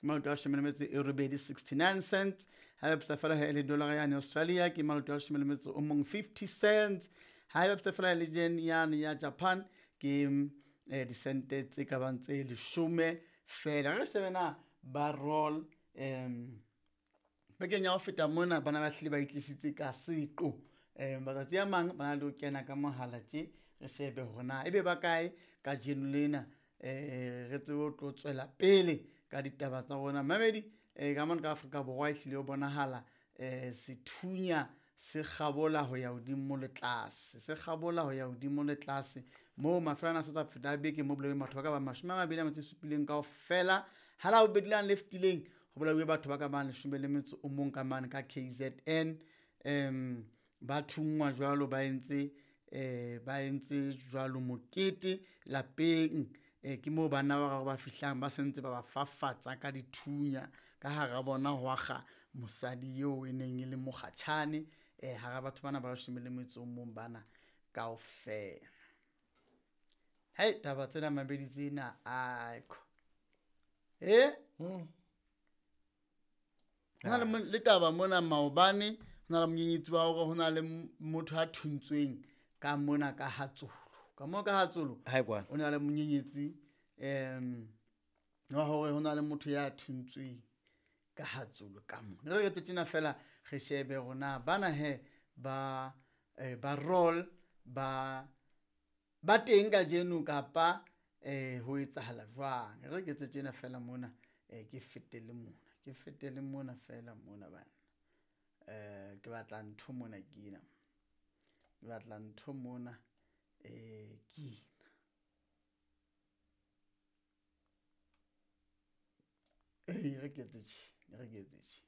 ke maloto a leshome le metso e robedi 69 cents. Ha e bapisa fela he le dollar yane Australia ke maloto a leshome le metso o mong 50 cents. Ha e bapisa fela le yen yane ya Japan ke disente tse ka bang tse leshome fela. Re shebe na ba roll bekeng ya ho feta mona bana ba hlile ba itlisitse ka seqo. Matsatsi a mang ba na le ho kena ka mohala tje, re shebe hore na ebe ba kae kajeno lena, re tsebe ho tlo tswela pele ka ditaba tsa rona. Mamedi ka mona ka Afrika Borwa ehlile ho bonahala sethunya se kgabola ho ya hodimo le tlase, se kgabola ho ya hodimo le tlase moo mafelo ana a sa feta a beke mo bolailweng batho ba ka bang 27 kaofela. Ha la bobedi lane le fetileng ho bolauwe batho ba ka bang 11 ka mane ka KZN. Ba thungwa jwalo, ba entse ba entse jwalo mokete lapeng. Ke moo banna ba bararo ba fihlang ba sentse ba ba fafatsa ka dithunya ka hara bona ho akga mosadi eo e neng e le mokgatjhane hara batho bana ba 11 bana kaofela. Hei, taba tsena mabedi tsena aiko. Hona le le taba mona maobane, hona le monyenyetsi wa hore hona le motho a thuntsweng ka mona ka Hatsolo. Ka moo ka Hatsolo, o na le monyenyetsi wa hore hona le motho ya thuntsweng ka Hatsolo ka mona. Re re tjena fela re shebe hore na bana he ba ba roll ba ba teng kajeno kapa ho etsahala jwang. Re ke etse tjena fela mona, ke fetele mona, ke fetele mona fela mona bana. Ke batla ntho mona ke ena. Ke batla ntho mona ke ena. Re ke etse tje, re ke etse tje.